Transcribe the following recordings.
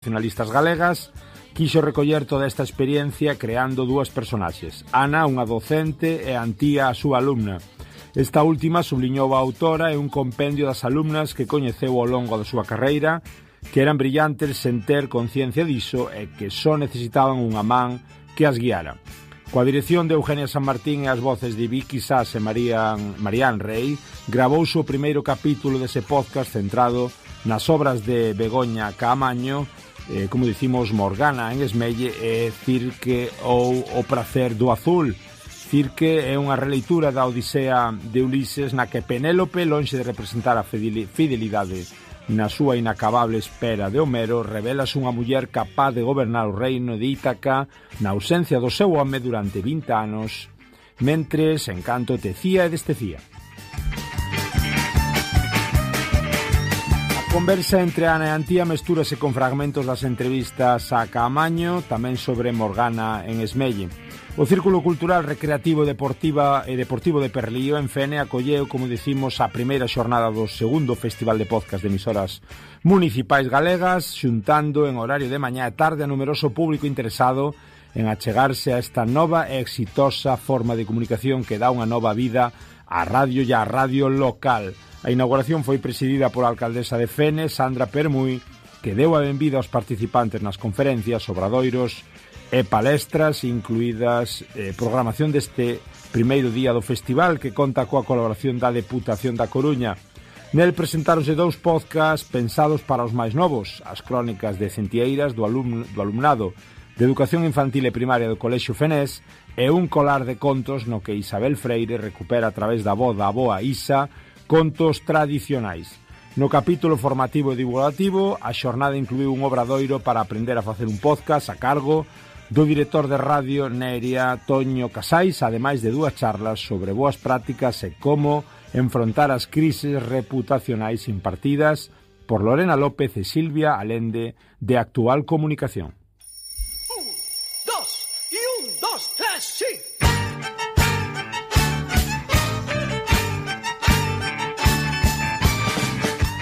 nacionalistas galegas, quixo recoller toda esta experiencia creando dúas personaxes. Ana, unha docente, e Antía, a súa alumna. Esta última, subliñou a autora, é un compendio das alumnas que coñeceu ao longo da súa carreira, que eran brillantes sen ter conciencia diso e que só necesitaban unha man que as guiara. Coa dirección de Eugenia San Martín e as voces de Vicky Sás e Marián Rey, gravouse o primeiro capítulo dese podcast centrado nas obras de Begoña Caamaño, como dicimos, Morgana en Esmelle e Cirque ou O prazer do azul. Cirque é unha releitura da Odisea de Ulises na que Penélope, lonxe de representar a fidelidade na súa inacabable espera de Homero, revelase unha muller capaz de gobernar o reino de Ítaca na ausencia do seu home durante 20 anos, mentres Encanto tecía e destecía. A conversa entre Ana e Antía mestúrase con fragmentos das entrevistas a Caamaño, tamén sobre Morgana en Esmelle. O Círculo Cultural Recreativo e Deportivo de Perlío en Fene acolleu, como dicimos, a primeira xornada do segundo Festival de Podcast de Emisoras Municipais Galegas, xuntando en horario de mañá e tarde a numeroso público interesado en achegarse a esta nova e exitosa forma de comunicación que dá unha nova vida á radio e á radio local. A inauguración foi presidida pola alcaldesa de Fene, Sandra Permuy, que deu a benvida aos participantes nas conferencias, obradoiros e palestras, incluídas programación deste primeiro día do festival, que conta coa colaboración da Deputación da Coruña. Nel presentáronse dous podcasts pensados para os máis novos, as crónicas de Centieiras do alumnado de Educación Infantil e Primaria do Colexio Fenés e un colar de contos no que Isabel Freire recupera a través da voz da avoa Isa contos tradicionais. No capítulo formativo e divulgativo, a xornada incluiu un obradoiro para aprender a facer un podcast a cargo do director de radio Neria Toño Casais, ademais de dúas charlas sobre boas prácticas e como enfrontar as crises reputacionais impartidas por Lorena López e Silvia Alende de Actual Comunicación.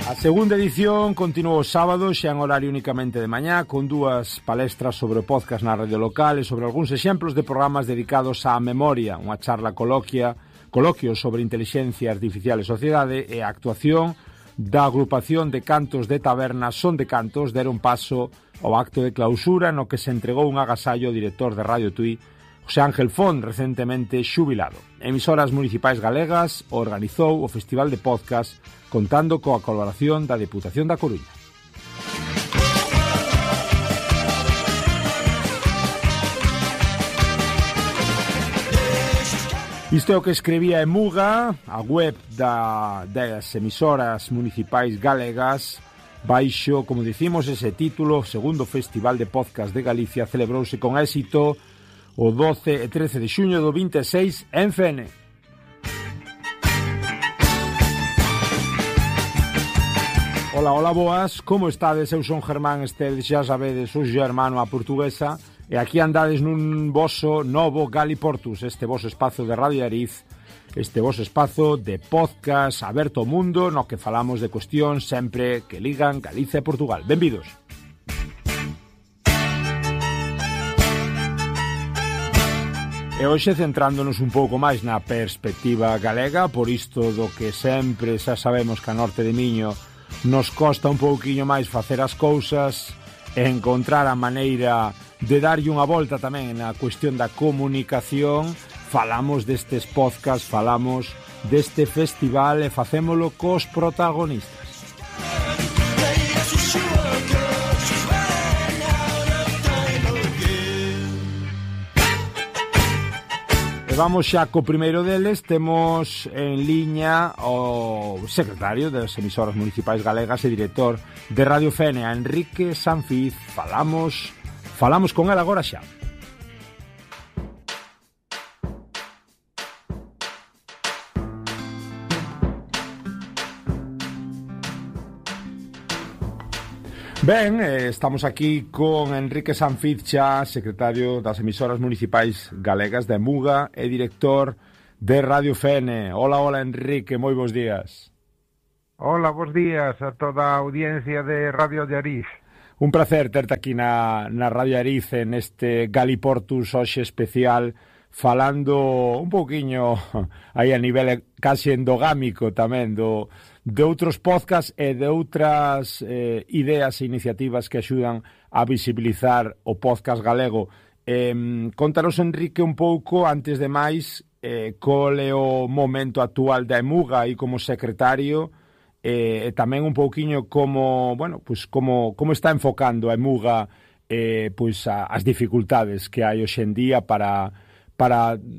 A segunda edición continuou o sábado, xa en horario únicamente de mañá, con dúas palestras sobre o podcast na radio local e sobre algúns exemplos de programas dedicados á memoria, unha charla coloquio sobre inteligencia artificial e sociedade e a actuación da agrupación de cantos de taberna Son de Cantos deron paso ao acto de clausura no que se entregou un agasallo ao director de Radio Tui, José Ángel Font, recentemente xubilado. Emisoras Municipais Galegas organizou o Festival de Podcast contando coa colaboración da Deputación da Coruña. Isto é o que escribía Emuga, a web das emisoras municipais galegas, baixo, como dicimos, ese título. O segundo Festival de Podcast de Galicia celebrouse con éxito o 12 e 13 de xuño do 26 en Fene. Hola, boas, como estades? Eu son Germán Estedes, xa sabedes, o germano a portuguesa, e aquí andades nun voso novo Galiportus, este voso espazo de Radio Ariz, este voso espazo de podcast aberto ao mundo, no que falamos de cuestións sempre que ligan Galicia e Portugal. Benvidos. E hoxe centrándonos un pouco máis na perspectiva galega, por isto do que sempre xa sabemos que a norte de Miño nos costa un pouquiño máis facer as cousas e encontrar a maneira de darlle unha volta tamén na cuestión da comunicación. Falamos destes podcasts, falamos deste festival e facémolo cos protagonistas. Vamos xa co primeiro deles. Temos en liña o secretario das emisoras municipais galegas e director de Radio Fene, Enrique Sanfiz. Falamos con él agora xa. Ben, estamos aquí con Enrique Sanfiz xa, secretario das emisoras municipais galegas de Emuga e director de Radio Fene. Hola, Enrique, moi bons días. Hola, bons días a toda a audiencia de Radio de Ariz. Un placer terte aquí na Radio Arice neste Galiportus hoxe especial, falando un pouquiño aí a nivel casi endogámico tamén de outros podcasts e de outras ideas e iniciativas que axudan a visibilizar o podcast galego. Contanos, Enrique, un pouco, antes de máis, col é o momento actual da Emuga aí como secretario, e tamén un pouquiño como, bueno, pues como está enfocando a Emuga pues as dificultades que hai hoxe en día para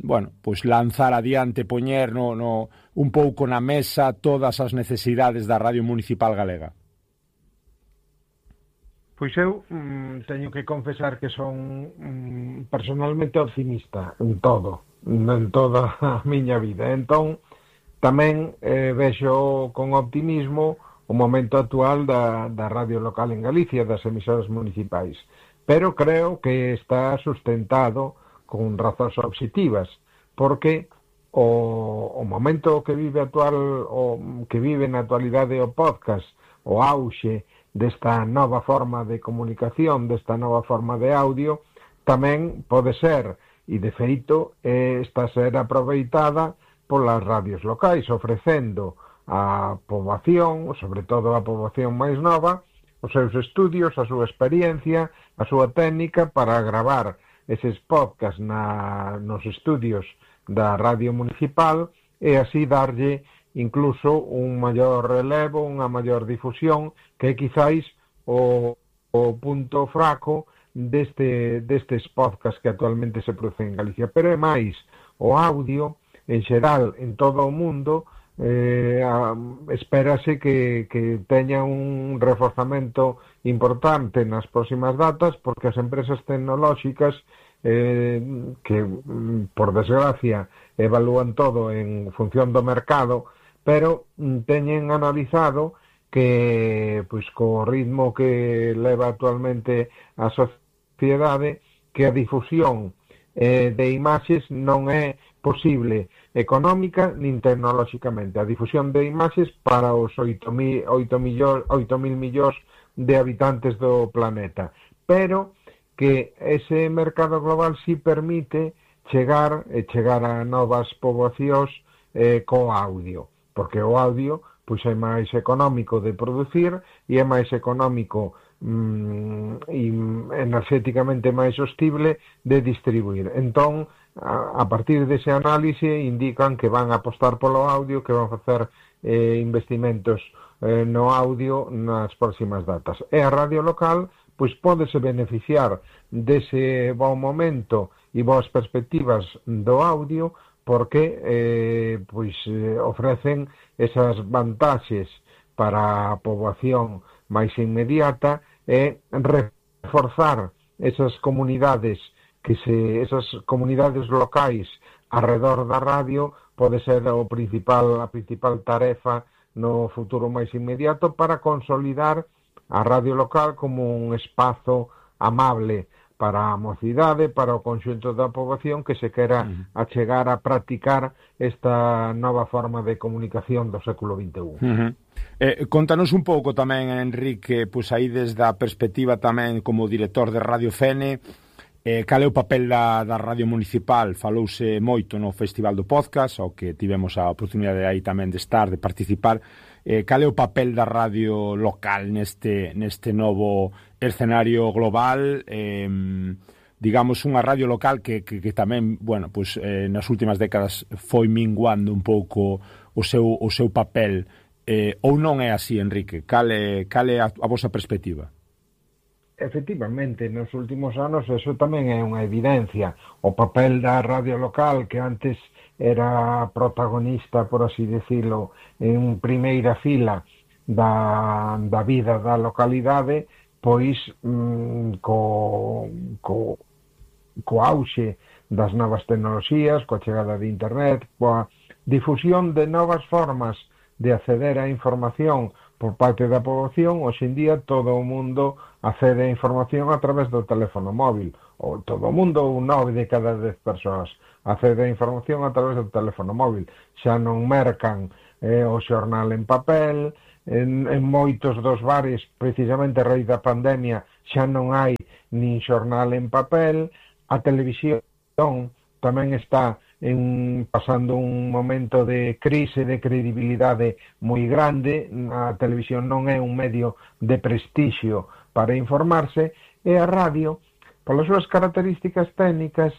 bueno, pues lanzar adiante, poñer un pouco na mesa todas as necesidades da Radio Municipal Galega. Pois eu teño que confesar que son personalmente optimista en toda a miña vida. Entón, tamén vexo con optimismo o momento actual da radio local en Galicia, das emisoras municipais. Pero creo que está sustentado con razóns obxectivas, porque o momento que vive na actualidade o podcast, o auxe desta nova forma de comunicación, desta nova forma de audio, tamén pode ser, e de feito está a ser aproveitada polas radios locais, ofrecendo á poboación, sobre todo a poboación máis nova, os seus estudios, a súa experiencia, a súa técnica para gravar eses podcasts nos estudios da radio municipal e así darlle incluso un maior relevo, unha maior difusión, que é quizáis o punto fraco destes podcasts que actualmente se producen en Galicia. Pero é máis, o audio en xeral, en todo o mundo, espérase que teña un reforzamento importante nas próximas datas, porque as empresas tecnolóxicas que, por desgracia, evalúan todo en función do mercado, pero teñen analizado que, pois, co ritmo que leva actualmente a sociedade, que a difusión de imaxes non é posible económica nin tecnolóxicamente. A difusión de imaxes para os 8.000 millóns de habitantes do planeta. Pero que ese mercado global sí permite chegar a novas poboacións co audio, porque o audio pois é máis económico de producir e é máis económico e enerxéticamente máis sostible de distribuir. Entón, a partir dese análise indican que van a apostar polo audio, que van a facer investimentos no audio nas próximas datas. E a radio local pois pódese beneficiar dese bon momento e boas perspectivas do audio, porque ofrecen esas vantaxes para a poboación máis inmediata e reforzar esas comunidades esas comunidades locais arredor da radio pode ser a principal tarefa no futuro máis inmediato para consolidar a radio local como un espazo amable para a mocidade, para o conxunto da poboación que se quera achegar a practicar esta nova forma de comunicación do século XXI. Contanos un pouco tamén, Enrique, pois aí desde a perspectiva tamén como director de Radio Fene, cal é o papel da Radio Municipal? Falouse moito no Festival do Podcast, ao que tivemos a oportunidade aí tamén de estar, de participar. Cal é o papel da radio local neste novo escenario global? Digamos, unha radio local que tamén, bueno, pues, nas últimas décadas foi minguando un pouco o seu papel. Ou non é así, Enrique? Cal é a vosa perspectiva? Efectivamente, nos últimos anos eso tamén é unha evidencia. O papel da radio local, que antes era protagonista, por así decirlo, en primeira fila da vida da localidade, pois co auxe das novas tecnoloxías, coa chegada de internet, coa difusión de novas formas de acceder á información por parte da poboación, hoxe en día todo o mundo accede a información a través do teléfono móvil, ou todo o mundo, 9 de cada 10 persoas accede a información a través do teléfono móvil. Xa non mercan o xornal en papel, en moitos dos bares, precisamente a raíz da pandemia, xa non hai nin xornal en papel. A televisión tamén está pasando un momento de crise de credibilidade moi grande. A televisión non é un medio de prestixio para informarse, e a radio, polas súas características técnicas,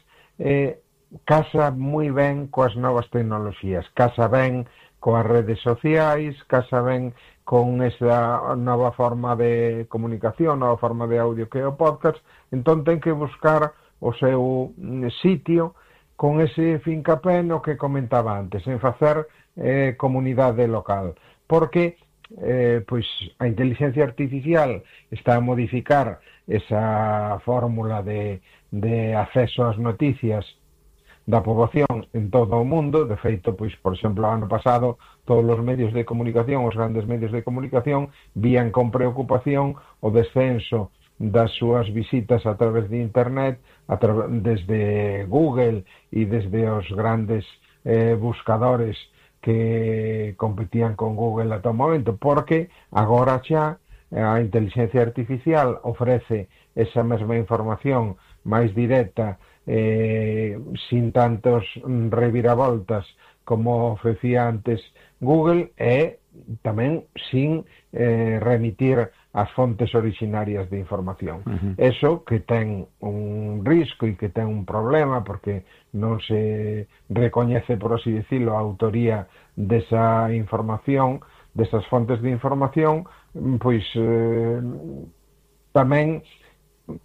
casa moi ben coas novas tecnoloxías, casa ben coas redes sociais, casa ben con esa nova forma de comunicación, nova forma de audio que é o podcast. Entón ten que buscar o seu sitio con ese fincapé no que comentaba antes, en facer comunidade local, porque pois a inteligencia artificial está a modificar esa fórmula de acceso ás noticias da poboación en todo o mundo. De feito, pois, por exemplo, ano pasado, todos os medios de comunicación, os grandes medios de comunicación, vían con preocupación o descenso das súas visitas a través de internet, desde Google e desde os grandes buscadores que competían con Google ata o momento, porque agora xa a inteligencia artificial ofrece esa mesma información máis directa, sin tantos reviravoltas como ofrecía antes Google, e tamén sin remitir as fontes originarias de información. Eso que ten un risco e que ten un problema, porque non se recoñece, por así decirlo, a autoría desa información, desas fontes de información, pois tamén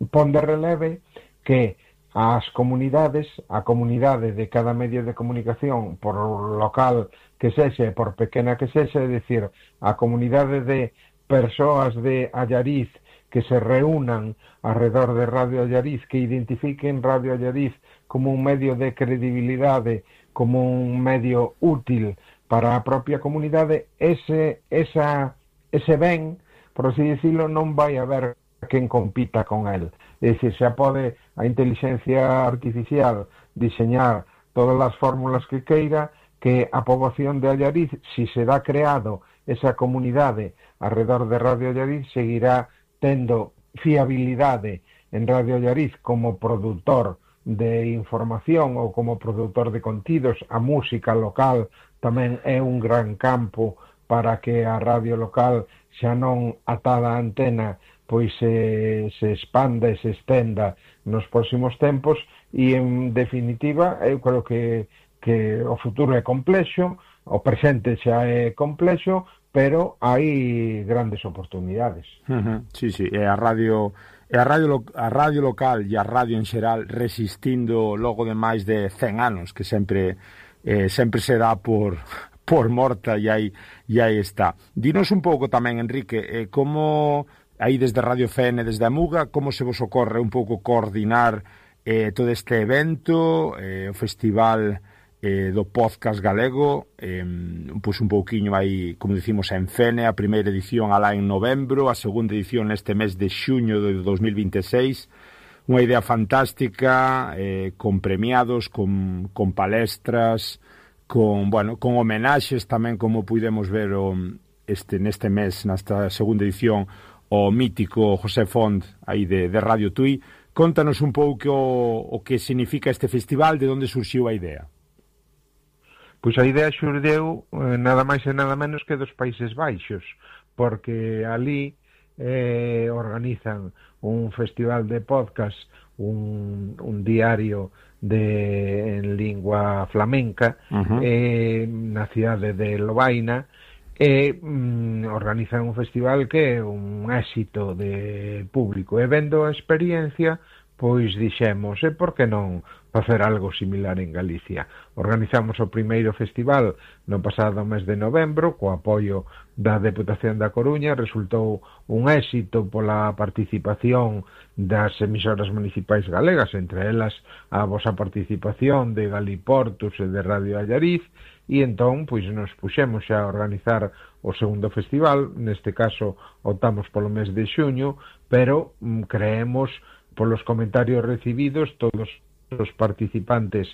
pon de releve que a comunidade de cada medio de comunicación, por local que sexa, por pequena que sexa, é dicir, a comunidade de persoas de Allariz que se reúnan alrededor de Radio Allariz, que identifiquen Radio Allariz como un medio de credibilidade, como un medio útil para a propia comunidade, ese ben, por así decirlo, non vai haber quen compita con el. É dicir, xa pode a inteligencia artificial diseñar todas as fórmulas que queira, que a poboación de Allariz, si se dá creado esa comunidade alrededor de Radio Allariz, seguirá tendo fiabilidade en Radio Allariz como produtor de información ou como produtor de contidos. A música local tamén é un gran campo para que a radio local, xa non atada a antena, pois se expanda e se estenda nos próximos tempos. E, en definitiva, eu creo que o futuro é complexo, o presente xa é complexo, pero hai grandes oportunidades. Sí, e a radio local e a radio en xeral resistindo logo de máis de 100 anos, que sempre se dá por morta, e aí está. Dinos un pouco tamén, Enrique, como aí desde Radio FN, desde a Muga, como se vos ocorre un pouco coordinar todo este evento, o festival do podcast galego, pois un pouquiño aí, como dicimos, en Fene, a primeira edición alá en novembro, a segunda edición neste mes de xuño de 2026, unha idea fantástica, con premiados, con palestras, con homenaxes tamén, como pudemos ver neste mes, nesta segunda edición, o mítico José Font aí de Radio Tui. Contanos un pouco o que significa este festival, de onde surxiu a idea. Pois a idea xurdeu nada máis e nada menos que dos Países Baixos, porque ali organizan un festival de podcast, un diario en lingua flamenca, na cidade de Lovaina, e organizan un festival que é un éxito de público. E vendo a experiencia, pois dixemos, e por que non facer algo similar en Galicia? Organizamos o primeiro festival no pasado mes de novembro, co apoio da Deputación da Coruña. Resultou un éxito pola participación das emisoras municipais galegas, entre elas a vosa participación de Galiportus e de Radio Allariz, e entón pois nos puxemos a organizar o segundo festival. Neste caso optamos polo mes de xuño, pero creemos, polos comentarios recibidos, todos os participantes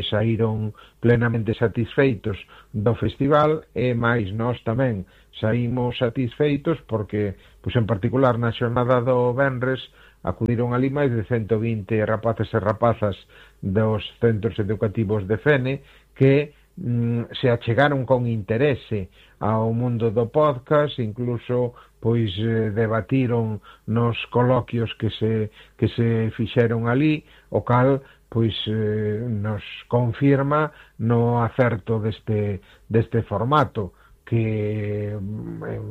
saíron plenamente satisfeitos do festival, e máis nós tamén saímos satisfeitos porque, pois en particular na xornada do venres, acudiron ali máis de 120 rapaces e rapazas dos centros educativos de Fene que se achegaron con interese ao mundo do podcast, incluso pois debatiron nos coloquios que se fixeron ali, o cal pois nos confirma no acerto deste formato, que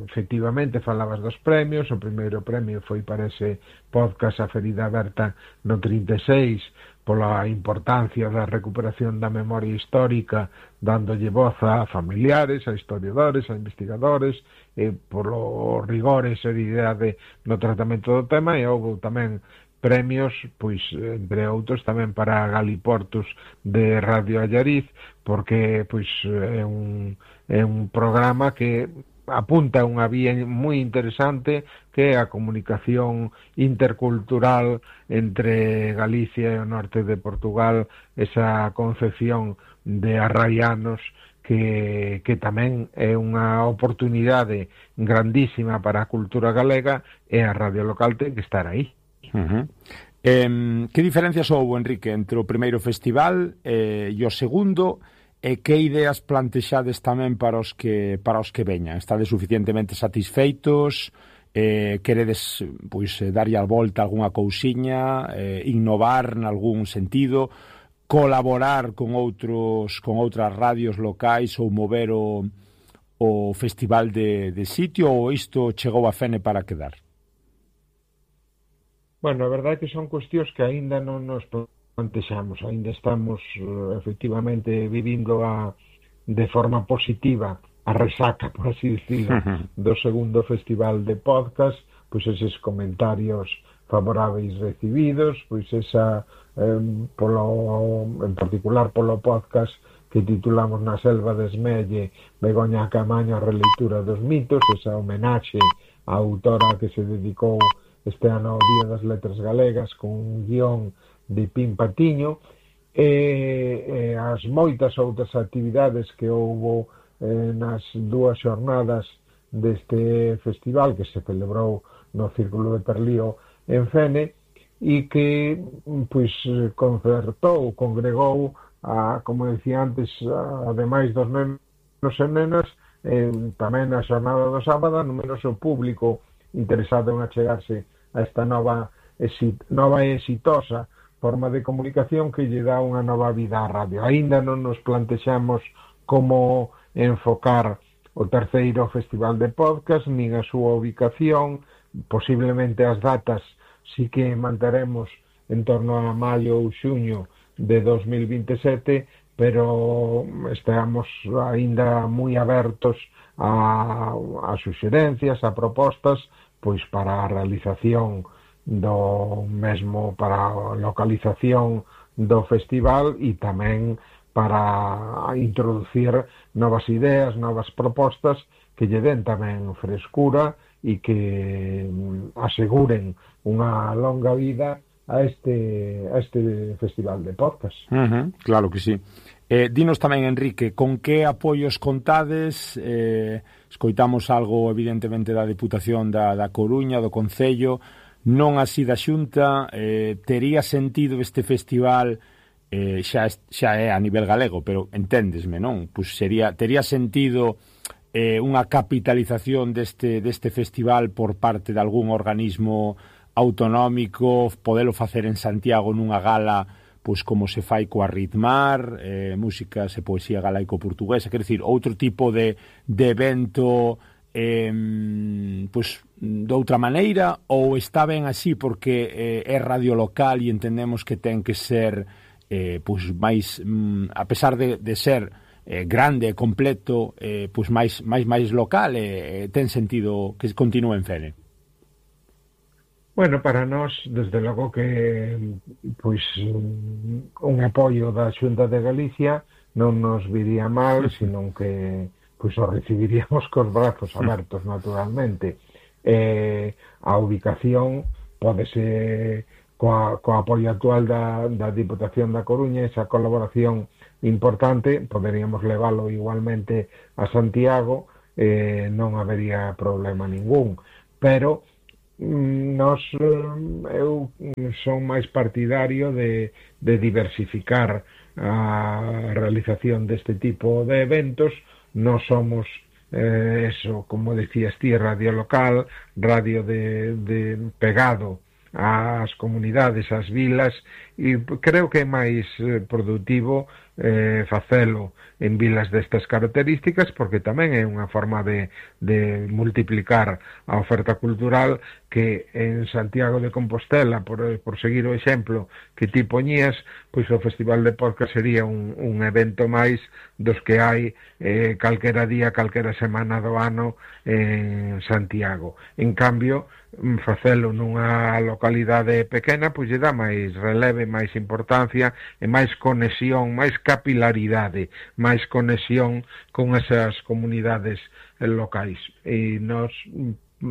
efectivamente falabas dos premios. O primeiro premio foi para ese podcast A Ferida Aberta no 36, pola importancia da recuperación da memoria histórica, dándolle voz a familiares, a historiadores, a investigadores, e polo rigor e seriedade no tratamento do tema. E houve tamén premios, pois, entre outros, tamén para Galiportus de Radio Allariz, porque pois é un programa que apunta a unha vía moi interesante, que é a comunicación intercultural entre Galicia e o norte de Portugal, esa concepción de arraianos que tamén é unha oportunidade grandísima para a cultura galega, e a radio local ten que estar aí. Que diferencias houve, Enrique, entre o primeiro festival e o segundo, e que ideas plantexades tamén para os que veñan? Estades suficientemente satisfeitos? Queredes pois darlle a volta a algunha cousiña, innovar nalgún sentido, colaborar con outras radios locais, ou mover o festival de sitio, ou isto chegou a Fene para quedar? Bueno, a verdade é que son cuestións que aínda non nos plantexamos, aínda estamos efectivamente vivindo de forma positiva a resaca, por así decirlo, do segundo festival de podcast, pois eses comentarios favoráveis recibidos, pois esa en particular polo podcast que titulamos Na selva de Esmelle, Begoña Camaño, a releitura dos mitos, esa homenaxe á autora que se dedicou este ano ao Día das Letras Galegas, con un guión de Pim Patiño, e as moitas outras actividades que houbo nas dúas xornadas deste festival, que se celebrou no Círculo de Perlío en Fene, e que pois congregou como decía antes, ademais dos nenos e nenas, tamén na xornada do sábado, numeroso público interesado en achegarse a esta nova e exitosa forma de comunicación que lle dá unha nova vida á radio. Aínda non nos plantexamos como enfocar o terceiro festival de podcast, nin a súa ubicación. Posiblemente as datas sí que manteremos en torno a maio ou xuño de 2027, pero estamos aínda moi abertos a suxerencias, a propostas, pois para a realización do mesmo, para a localización do festival, e tamén para introducir novas ideas, novas propostas que lle den tamén frescura e que aseguren unha longa vida a este festival de podcast. Claro que sí. Dinos tamén, Enrique, con que apoios contades? Escoitamos algo, evidentemente, da Deputación da Coruña, do Concello, non así da Xunta. Tería sentido este festival, xa é a nivel galego, pero enténdesme, non? Pois tería sentido unha capitalización deste festival por parte de algún organismo autonómico, podelo facer en Santiago nunha gala, pois como se fai coa Ritmar, músicas e poesía galaico-portuguesa, quer dicir, outro tipo de evento, pois de outra maneira, ou está ben así porque é radio local e entendemos que ten que ser pois máis, a pesar de ser grande e completo, pois máis local, ten sentido que continúe en Fene? Bueno, para nós, desde logo que pois un apoio da Xunta de Galicia non nos viría mal, senón que pois o recibiríamos cos brazos abertos, naturalmente. A ubicación pódese coa apoio actual da Diputación da Coruña, esa colaboración importante, poderíamos leválo igualmente a Santiago, non habería problema ningún, pero eu son máis partidario de diversificar a realización deste tipo de eventos. Non somos eso, como decías ti, radio local, radio de pegado ás comunidades, ás vilas, e creo que é máis produtivo facelo en vilas destas características, porque tamén é unha forma de multiplicar a oferta cultural, que en Santiago de Compostela, por seguir o exemplo que ti poñías, pois o Festival de Podcast sería un evento máis dos que hai calquera día, calquera semana do ano en Santiago. En cambio, facelo nunha localidade pequena, pois lle dá máis releve, máis importancia e máis conexión, máis capilaridade, máis conexión con esas comunidades locais. E nós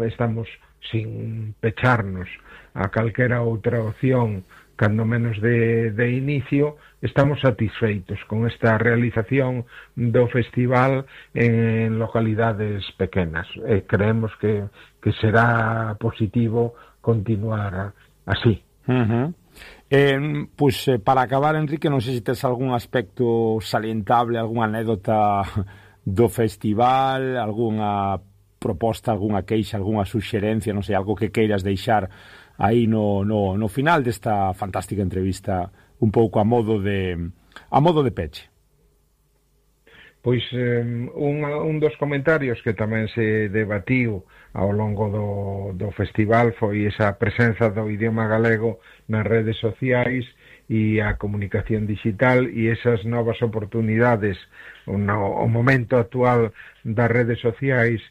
estamos sin pecharnos a calquera outra opción, cando menos de inicio, estamos satisfeitos con esta realización do festival en localidades pequenas. Creemos que será positivo continuar así. Pois para acabar, Enrique, non sei se tes algún aspecto salientable, algunha anécdota do festival, algunha proposta, algunha queixa, algunha suxerencia, non sei, algo que queiras deixar aí no final desta fantástica entrevista, un pouco a modo de peche. Pois un dos comentarios que tamén se debatiu ao longo do festival foi esa presenza do idioma galego nas redes sociais e a comunicación digital, e esas novas oportunidades. O momento actual das redes sociais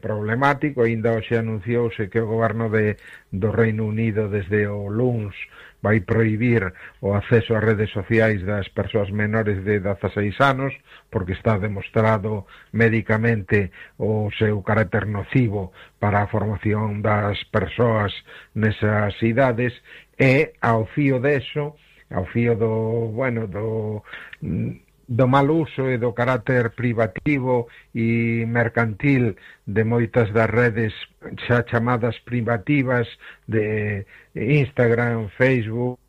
problemático. Ainda hoxe anunciouse que o goberno do Reino Unido desde o luns vai prohibir o acceso ás redes sociais das persoas menores de 16 anos, porque está demostrado médicamente o seu carácter nocivo para a formación das persoas nesas idades, e ao fío deso, ao fío do mal uso e do carácter privativo e mercantil de moitas das redes xa chamadas privativas de Instagram, Facebook,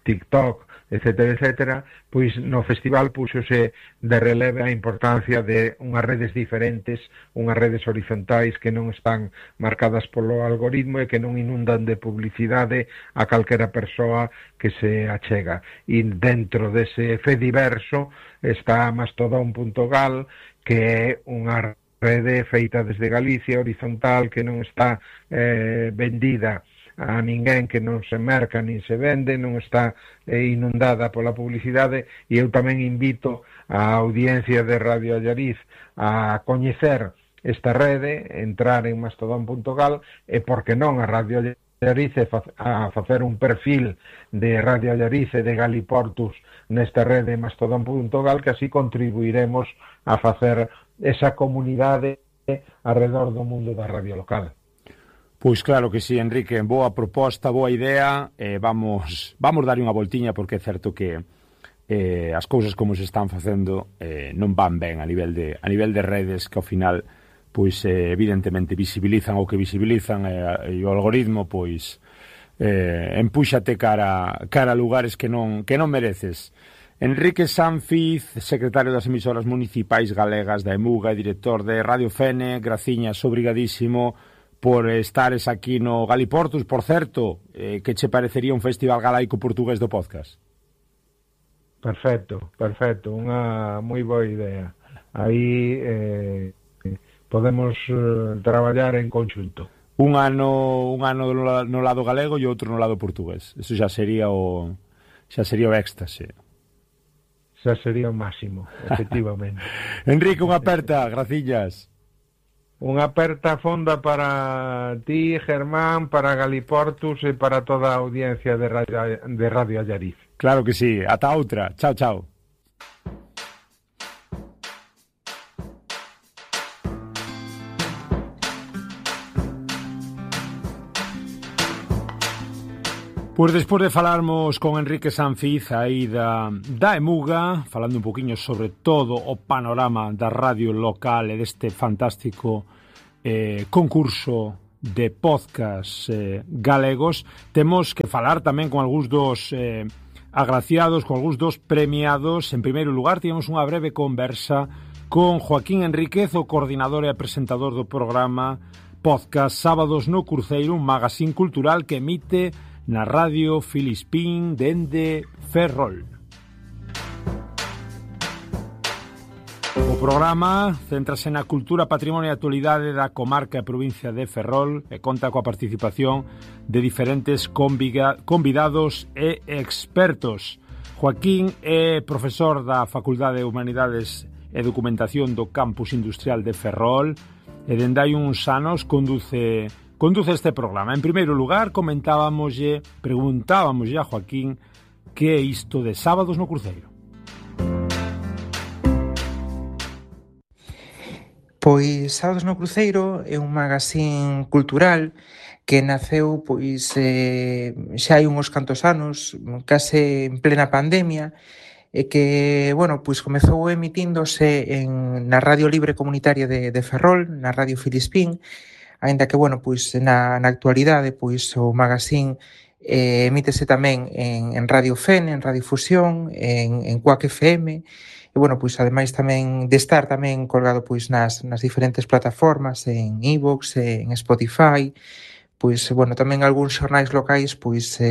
TikTok, etcétera, pois no festival púxose de releve a importancia de unhas redes diferentes, unhas redes horizontais que non están marcadas polo algoritmo e que non inundan de publicidade a calquera persoa que se achega. E dentro dese fediverso está Mastodon.gal, que é unha rede feita desde Galicia, horizontal, que non está vendida a ninguén, que non se merca nin se vende, non está inundada pola publicidade, e eu tamén invito a audiencia de Radio Allariz a coñecer esta rede, entrar en mastodon.gal, e porque non a Radio Allariz a facer un perfil de Radio Allariz e de Galiportus nesta rede mastodon.gal, que así contribuiremos a facer esa comunidade alrededor do mundo da radio local. Pois claro que sí, Enrique, boa proposta, boa idea, vamos dar unha voltiña, porque é certo que as cousas como se están facendo non van ben a nivel de redes, que ao final pois evidentemente visibilizan o que visibilizan, e o algoritmo pois empúxate cara a lugares que non mereces. Enrique Sanfiz, secretario das emisoras municipais galegas da EMUGA e director de Radio Fene, graciñas, obrigadísimo por estares aquí no Galiportus. Por certo, que che parecería un festival galaico portugués do podcast? Perfecto, unha moi boa idea. Aí podemos traballar en conxunto. Un ano no lado galego e outro no lado portugués. Eso xa sería o éxtase. Xa sería o máximo, efectivamente. Enrique, unha aperta, graciñas. Unha aperta fonda para ti, Germán, para Galiportus e para toda a audiencia de Radio Allariz. Claro que sí. Ata outra. Chao, chao. Pois despois de falarmos con Enrique Sanfiz aí da Emuga, falando un poquinho sobre todo o panorama da radio local e deste fantástico concurso de podcast galegos, temos que falar tamén con algúns dos agraciados, con algúns dos premiados. En primeiro lugar, tivemos unha breve conversa con Joaquín Enríquez, o coordinador e presentador do programa podcast Sábados no Cruceiro, un magazín cultural que emite na radio Filispín dende Ferrol. O programa céntrase na cultura, patrimonio e actualidade da comarca e provincia de Ferrol e conta coa participación de diferentes convidados e expertos. Joaquín é profesor da Facultade de Humanidades e Documentación do Campus Industrial de Ferrol e dende hai uns anos conduce este programa. En primeiro lugar, preguntábamoslle a Joaquín que é isto de Sábados no Cruceiro. Pois Sábados no Cruceiro é un magazín cultural que naceu xa hai uns cantos anos, case en plena pandemia, e que, pois comezou emitíndose na Radio Libre Comunitaria de Ferrol, na Radio Filispín, aínda que, pois na actualidade, pois o magazín emítese tamén en Radio FEN, en Radio Fusión, en Cuac FM, e, pois ademais tamén de estar tamén colgado pois nas diferentes plataformas, en iVoox, en Spotify, pois, tamén algúns xornais locais pois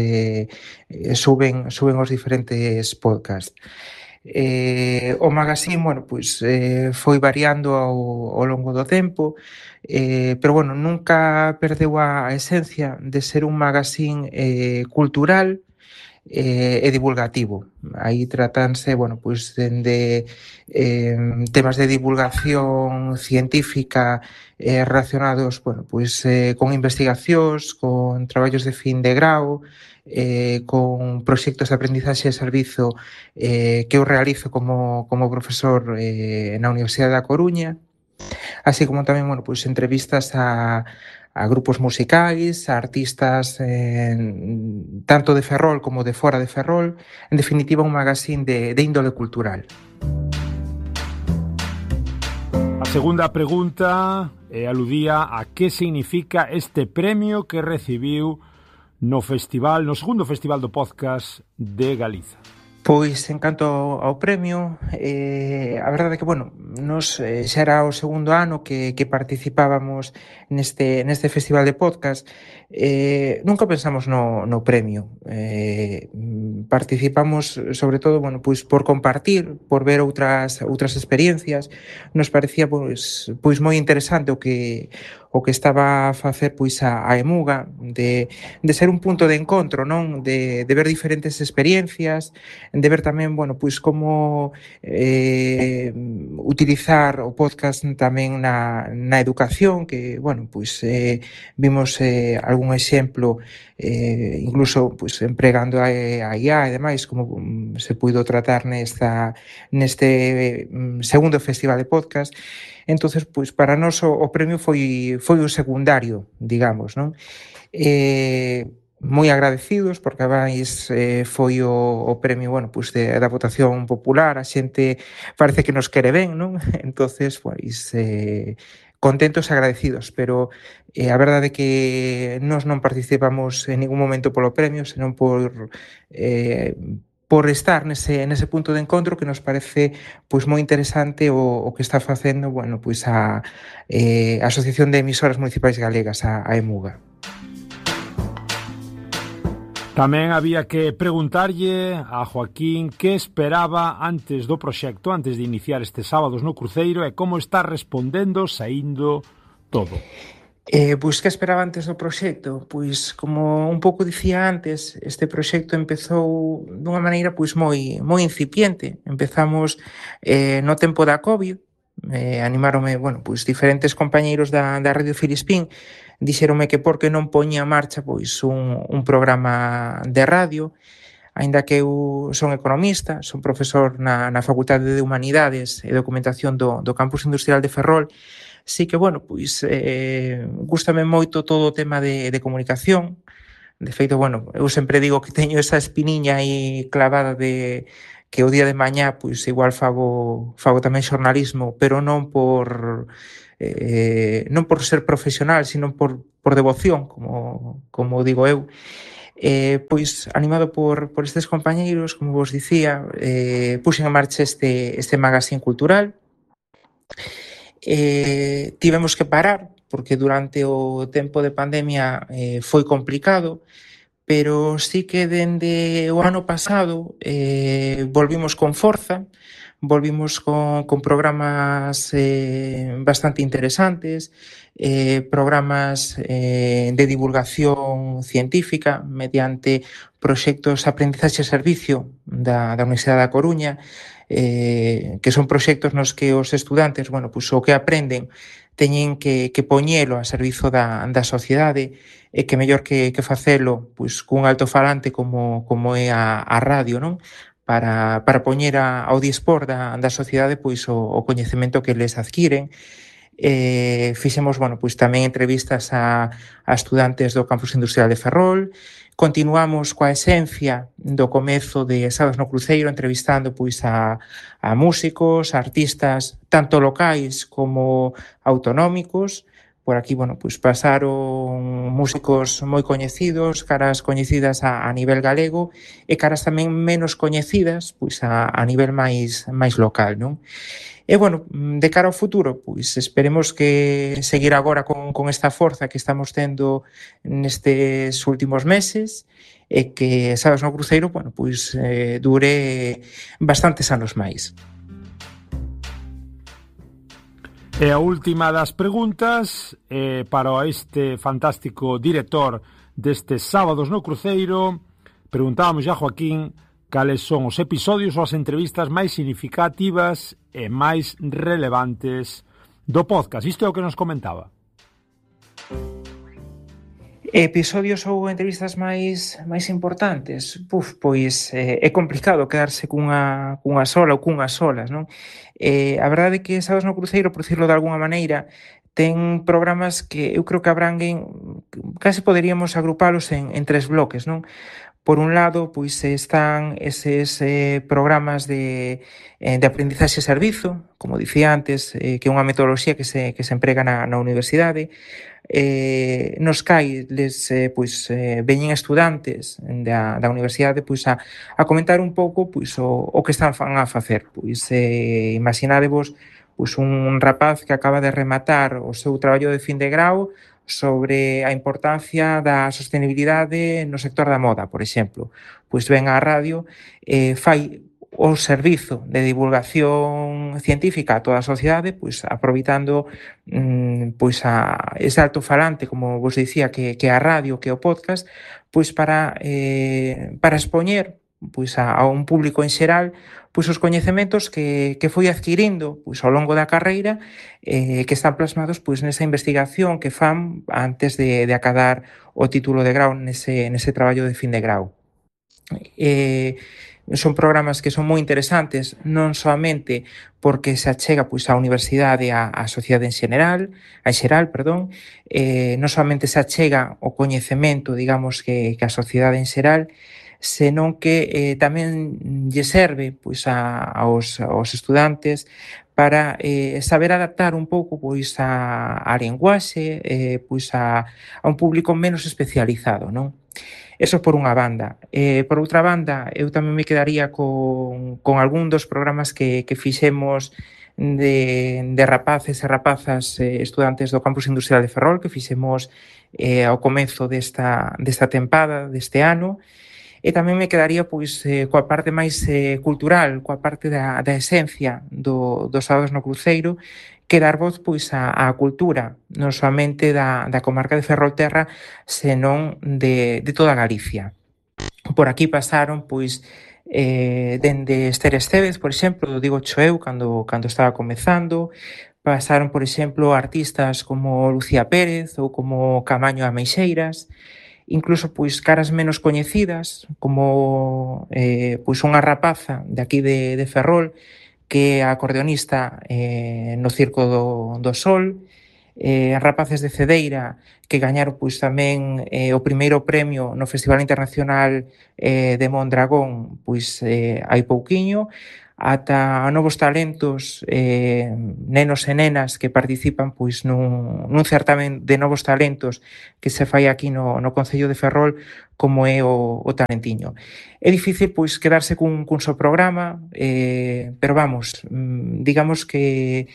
suben os diferentes podcasts. O magazín, pois foi variando ao longo do tempo, pero, nunca perdeu a esencia de ser un magazín cultural e divulgativo. Aí tratanse, pois dende temas de divulgación científica relacionados, pois con investigacións, con traballos de fin de grau, con proxectos de aprendizaxe e servizo que eu realizo como profesor na Universidade da Coruña, así como tamén, pois entrevistas a grupos musicais, a artistas tanto de Ferrol como de fora de Ferrol, en definitiva un magazín de índole cultural. A segunda pregunta aludía a que significa este premio que recibiu no segundo festival do podcast de Galiza. Pois, en canto ao premio, a verdade é que, nos xa era o segundo ano que participábamos neste festival de podcast. Nunca pensamos no premio. Participamos, sobre todo, pois por compartir, por ver outras experiencias. Nos parecía pois moi interesante o que estaba a facer pois a Emuga, de ser un punto de encontro, non? De ver diferentes experiencias, de ver tamén, pois como utilizar o podcast tamén na educación, que, pois vimos algún exemplo, incluso pois empregando a IA e demais, como se puido tratar neste segundo festival de podcast. Entonces, pois para nós o premio foi o secundario, digamos, non? Moi agradecidos, porque ademais foi o premio, pois da votación popular, a xente parece que nos quere ben, non? Entonces, pois contentos e agradecidos, pero a verdade é que nós non participamos en ningún momento polo premio, senón por estar nese punto de encontro que nos parece pois moi interesante o que está facendo, pois a Asociación de Emisoras Municipais Galegas, a Emuga. Tamén había que preguntarlle a Joaquín que esperaba antes do proxecto, antes de iniciar este Sábados no Cruceiro, e como está respondendo, saíndo todo. Pois que esperaba antes do proxecto? Pois, como un pouco dicía antes, este proxecto empezou dunha maneira pois moi incipiente. Empezamos no tempo da COVID, animáronme, pois diferentes compañeiros da Radio Filispín, dixéronme que por que non poñía en marcha pois un programa de radio, aínda que eu son economista, son profesor na Facultade de Humanidades e Documentación do Campus Industrial de Ferrol. Sí que, pois gústame moito todo o tema de comunicación, De feito, bueno, eu sempre digo que teño esa espiniña aí clavada de que o día de mañá pois igual fago tamén xornalismo, pero non por ser profesional, sino por devoción, como digo eu. Pois animado por estes compañeiros, como vos dicía, puxen en marcha este magazín cultural. Tivemos que parar porque durante o tempo de pandemia foi complicado, pero sí que dende o ano pasado volvimos con forza, volvimos con programas bastante interesantes, programas de divulgación científica mediante proxectos de aprendizaxe e servicio da Universidade da Coruña, que son proxectos nos que os estudantes, bueno, pues, o que aprenden teñen que poñelo a servizo da sociedade, e que mellor que facelo pois, cun altofalante como é a radio, non? Para poñer ao dispor da sociedade pois, o coñecemento que les adquiren. Fixemos, bueno, pois tamén entrevistas a estudantes do Campus Industrial de Ferrol. Continuamos coa esencia do comezo de Sábados no Cruceiro, entrevistando pois a músicos, a artistas, tanto locais como autonómicos. Por aquí, bueno, pois pasaron músicos moi coñecidos, caras coñecidas a nivel galego e caras tamén menos coñecidas pois a nivel máis local, non? E, bueno, de cara ao futuro, pois esperemos que seguir agora con esta forza que estamos tendo nestes últimos meses e que Sábados no Cruceiro, bueno, pois dure bastantes anos máis. E a última das preguntas para este fantástico director destes Sábados no Cruceiro. Preguntábamos a Joaquín cales son os episodios ou as entrevistas máis significativas e máis relevantes do podcast. Isto é o que nos comentaba. Episodios ou entrevistas máis importantes? Pois é complicado quedarse cunha sola ou cunhas solas, non? A verdade é que Sábados no Cruceiro, por dicirlo de alguna maneira, ten programas que eu creo que abranguen, case poderíamos agrupalos en tres bloques, non? Por un lado, pois están eses programas de aprendizaxe e servizo, como dicía antes, que é unha metodoloxía que se emprega na universidade, nos cais pois veñen estudantes da universidade pois a comentar un pouco pois o que están a facer. Pois imaginadevos pois un rapaz que acaba de rematar o seu traballo de fin de grau sobre a importancia da sostenibilidade no sector da moda, por exemplo. Pois ven á radio, fai o servizo de divulgación científica a toda a sociedade, pois aproveitando pois ese altofalante, como vos dicía, que a radio, que o podcast, pois para expoñer pois a un público en xeral pois os coñecementos que foi adquirindo pois ao longo da carreira, que están plasmados pois nesa investigación que fan antes de acadar o título de grau nese traballo de fin de grau. Son programas que son moi interesantes, non soamente porque se achega pois á universidade a sociedade en xeral, non somente se achega o coñecemento, digamos, que a sociedade en xeral, senón que tamén lle serve pois aos estudantes para saber adaptar un pouco pois a linguaxe, pois a un público menos especializado, non? Eso por unha banda. Por outra banda, eu tamén me quedaría con algún dos programas que fixemos de rapaces e rapazas estudantes do Campus Industrial de Ferrol, que fixemos ao comezo desta tempada, deste ano. E tamén me quedaría pois coa parte máis cultural, coa parte da esencia dos Sábados no Cruceiro, que dar voz pois á cultura, non somente da comarca de Ferrolterra, senón de toda Galicia. Por aquí pasaron pois dende Esther Estévez, por exemplo, digo eu cando estaba comezando, pasaron, por exemplo, artistas como Lucía Pérez ou como Camaño Ameixeiras, incluso pois caras menos coñecidas, como pois unha rapaza de aquí de Ferrol, que é acordeonista no Circo do Sol, rapaces de Cedeira, que gañaron pois tamén o primeiro premio no Festival Internacional de Mondragón pois hai pouquiño, ata novos talentos, nenos e nenas que participan pois nun certamen de novos talentos que se fai aquí no Concello de Ferrol, como é o Talentiño. É difícil pois quedarse cun só programa, pero vamos, digamos que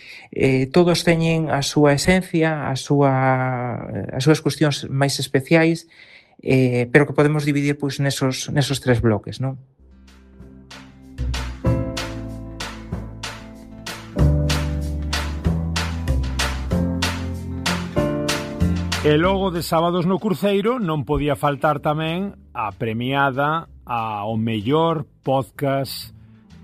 todos teñen a súa esencia, as súas cuestións máis especiais, pero que podemos dividir pois nesos tres bloques, non? E logo de Sábados no Cruceiro non podía faltar tamén a premiada ao mellor podcast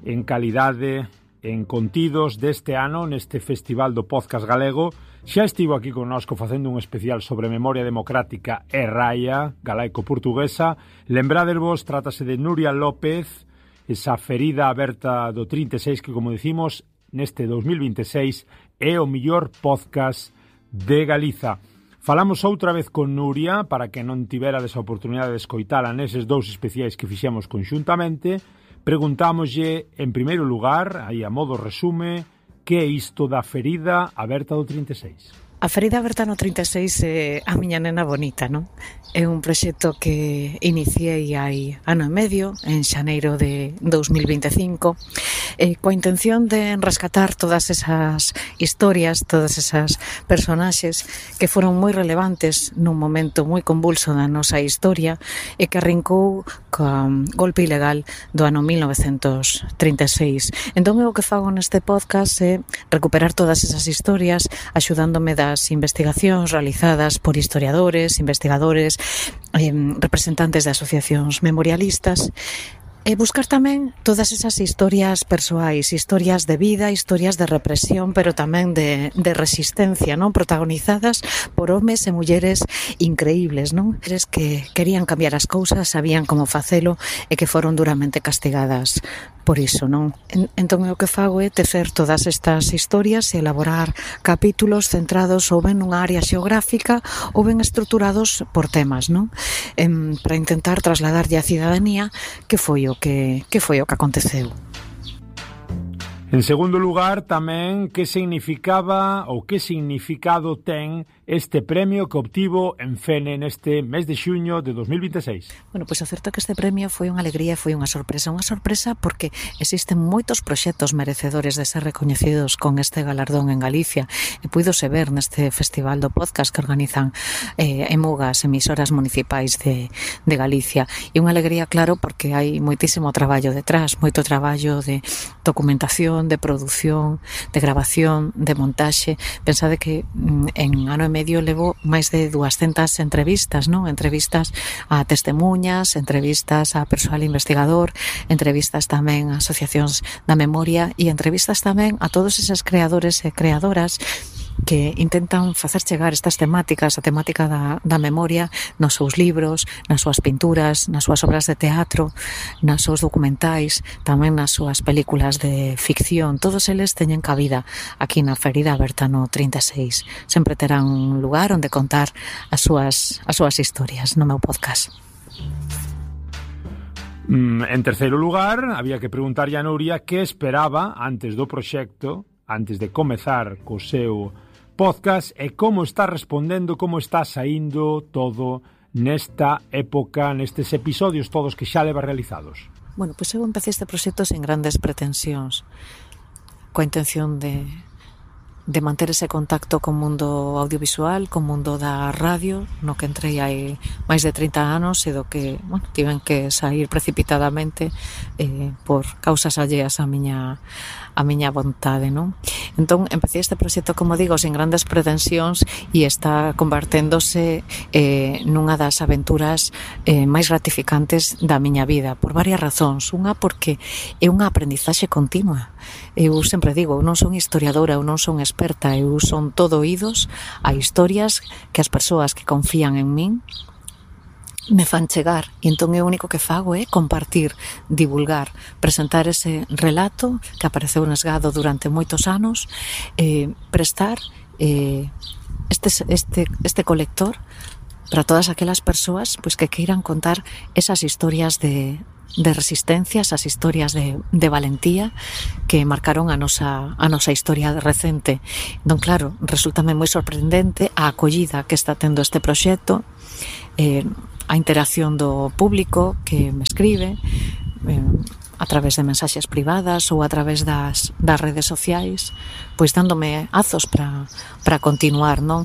en calidade, en contidos deste ano neste Festival do Podcast Galego. Xa estivo aquí connosco facendo un especial sobre memoria democrática e raia galaico-portuguesa. Lembradervos, trátase de Nuria López, esa ferida aberta do 36 que, como dicimos, neste 2026 é o mellor podcast de Galiza. Falamos outra vez con Nuria para que non tiverades a oportunidade de escoitala neses dous especiais que fixemos conxuntamente. Preguntámoslle, en primeiro lugar, aí a modo resume, que é isto da ferida aberta do 36? A ferida aberta no 36 é a miña nena bonita, non? É un proxecto que iniciei hai ano e medio, en xaneiro de 2025, coa intención de rescatar todas esas historias, todas esas personaxes que foron moi relevantes nun momento moi convulso da nosa historia e que arrincou co golpe ilegal do ano 1936. Entón, o que fago neste podcast é recuperar todas esas historias, axudándome das investigacións realizadas por historiadores, investigadores, representantes de asociacións memorialistas, e buscar tamén todas esas historias persoais, historias de vida, historias de represión, pero tamén de resistencia, non? Protagonizadas por homes e mulleres increíbles, non? Mulleres que querían cambiar as cousas, sabían como facelo e que foron duramente castigadas por iso, non? Entón, o que fago é tecer todas estas historias e elaborar capítulos centrados ou ben nunha área xeográfica ou ben estruturados por temas, non? Para intentar trasladarlle á cidadanía que foi o que aconteceu. En segundo lugar, tamén, que significaba ou que significado ten este premio que obtivo en Fene neste mes de xuño de 2026? Bueno, pois o certo é que este premio foi unha alegría e foi unha sorpresa porque existen moitos proxectos merecedores de ser recoñecidos con este galardón en Galicia e puídose ver neste festival do podcast que organizan EMUGAS, emisoras municipais de Galicia. E unha alegría, claro, porque hai moitísimo traballo detrás, moito traballo de documentación, de produción, de grabación, de montaxe. Pensade que en ano e medio levo máis de 200 entrevistas, non? Entrevistas a testemuñas, entrevistas a persoal investigador, entrevistas tamén a asociacións da memoria e entrevistas tamén a todos eses creadores e creadoras que intentan facer chegar estas temáticas, a temática da memoria, nos seus libros, nas súas pinturas, nas súas obras de teatro, nas seus documentais, tamén nas súas películas de ficción. Todos eles teñen cabida aquí na ferida aberta no 36. Sempre terán un lugar onde contar as súas historias no meu podcast. En terceiro lugar, había que preguntarlle a Nuria que esperaba antes do proxecto, antes de comezar co seu podcast, e como está respondendo, como está saindo todo nesta época, nestes episodios todos que xa leva realizados. Bueno, pois eu empecé este proxecto sen grandes pretensións, coa intención de manter ese contacto co mundo audiovisual, co mundo da radio, no que entrei hai máis de 30 anos e do que, bueno, tiven que sair precipitadamente por causas alleas a miña vontade, non? Entón, empecé este proxecto, como digo, sen grandes pretensións e está converténdose nunha das aventuras máis gratificantes da miña vida, por varias razóns. Unha, porque é unha aprendizaxe continua. Eu sempre digo, eu non son historiadora, eu non son experta, eu son todo oídos a historias que as persoas que confían en min me fan chegar, e entón o único que fago é compartir, divulgar, presentar ese relato que apareceu nesgado durante moitos anos, prestar este colector para todas aquelas persoas pois que queiran contar esas historias de resistencia, esas historias de valentía que marcaron a nosa historia recente. Entón, claro, resultame moi sorprendente a acollida que está tendo este proxecto, a interacción do público que me escribe a través de mensaxes privadas ou a través das redes sociais, pois dándome azos para continuar, non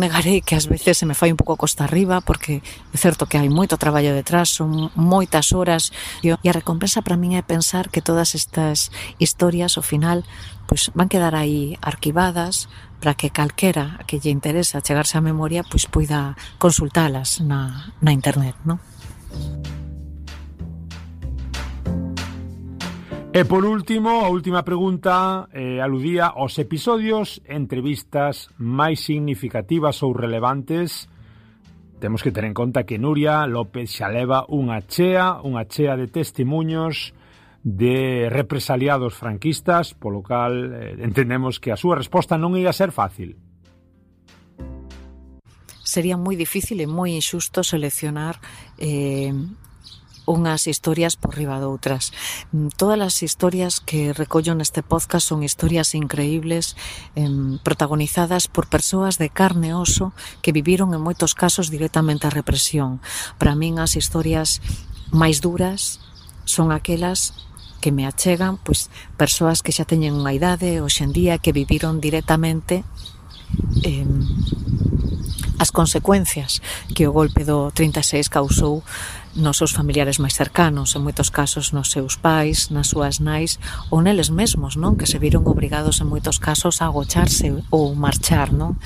negarei que ás veces se me fai un pouco costa arriba, porque é certo que hai moito traballo detrás, son moitas horas, e a recompensa para min é pensar que todas estas historias ao final pois van quedar aí arquivadas para que calquera que lle interesa chegarse á memoria pois poida consultalas na internet, non? E por último, a última pregunta aludía aos episodios, entrevistas máis significativas ou relevantes. Temos que ter en conta que Nuria López xa leva unha chea de testemunhos de represaliados franquistas, polo cal entendemos que a súa resposta non ia ser fácil. Sería moi difícil e moi injusto seleccionar unhas historias por riba doutras. Todas as historias que recollo neste podcast son historias increíbles, protagonizadas por persoas de carne e oso que viviron en moitos casos directamente a represión. Para min as historias máis duras son aquelas que me achegan pois persoas que xa teñen unha idade hoxe en día, que viviron directamente as consecuencias que o golpe do 36 causou nos seus familiares máis cercanos, en moitos casos nos seus pais, nas súas nais ou neles mesmos, non? Que se viron obrigados en moitos casos a agocharse ou marchar, non?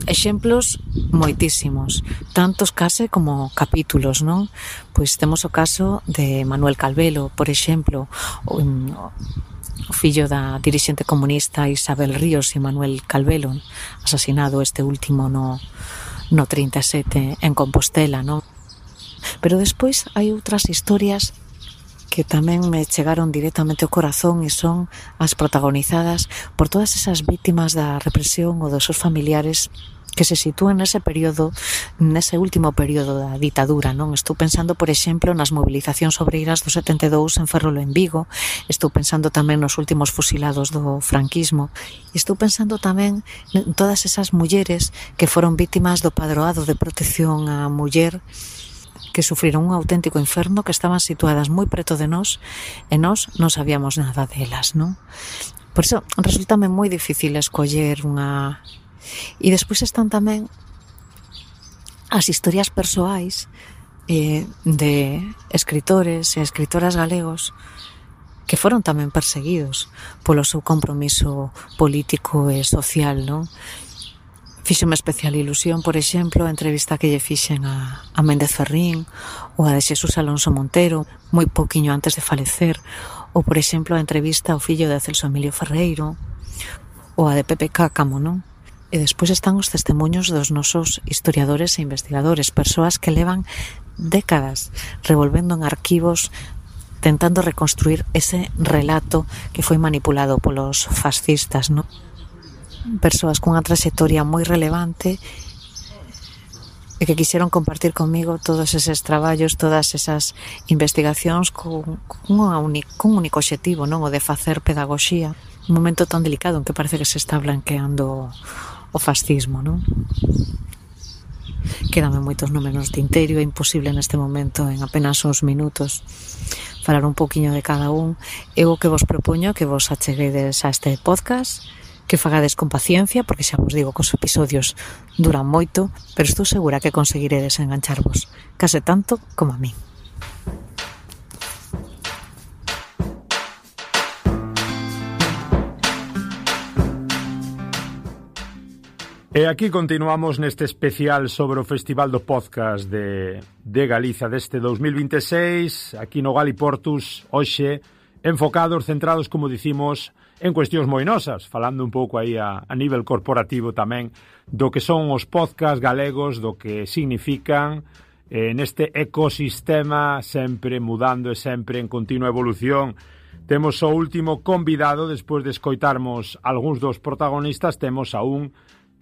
Exemplos moitísimos, tantos case como capítulos, non? Pois temos o caso de Manuel Calvelo, por exemplo, o fillo da dirixente comunista Isabel Ríos e Manuel Calvelo, asasinado este último no 37 en Compostela, non? Pero despois hai outras historias que tamén me chegaron directamente ao corazón e son as protagonizadas por todas esas vítimas da represión ou dos seus familiares que se sitúan nese período, nese último período da ditadura, non? Estou pensando, por exemplo, nas movilizacións obreiras do 72 en Ferrol en Vigo, estou pensando tamén nos últimos fusilados do franquismo, e estou pensando tamén en todas esas mulleres que foron vítimas do padroado de protección á muller, que sufriron un auténtico inferno, que estaban situadas moi preto de nós e nós non sabíamos nada delas, non? Por iso resultame moi difícil escoller unha... E despois están tamén as historias persoais de escritores e escritoras galegos que foron tamén perseguidos polo seu compromiso político e social, non? Fíxome especial ilusión, por exemplo, a entrevista que lle fixen a Méndez Ferrín ou a de Xesús Alonso Montero, moi pouquiño antes de falecer, ou, por exemplo, a entrevista ao fillo de Celso Emilio Ferreiro, ou a de Pepe Cácamo, non? E despois están os testemuños dos nosos historiadores e investigadores, persoas que levan décadas revolvendo en arquivos tentando reconstruir ese relato que foi manipulado polos fascistas, non? Persoas cunha traxectoria moi relevante e que quixeron compartir comigo todos eses traballos, todas esas investigacións con un único obxectivo, non? O de facer pedagogía, un momento tan delicado en que parece que se está blanqueando o fascismo, non? Quédame moitos nomes no tinteiro, é imposible neste momento en apenas uns minutos falar un pouquiño de cada un. Eu o que vos propoño que vos acheguedes a este podcast, que fagades con paciencia, porque xa vos digo que os episodios duran moito, pero estou segura que conseguiredes engancharvos, case tanto como a mí. E aquí continuamos neste especial sobre o Festival do Podcast de Galiza deste 2026, aquí no Galiportus, hoxe, enfocados, centrados, como dicimos, en cuestións moi nosas, falando un pouco aí a nivel corporativo tamén do que son os podcast galegos, do que significan neste ecosistema sempre mudando e sempre en continua evolución. Temos o último convidado, despois de escoitarmos algúns dos protagonistas, temos a un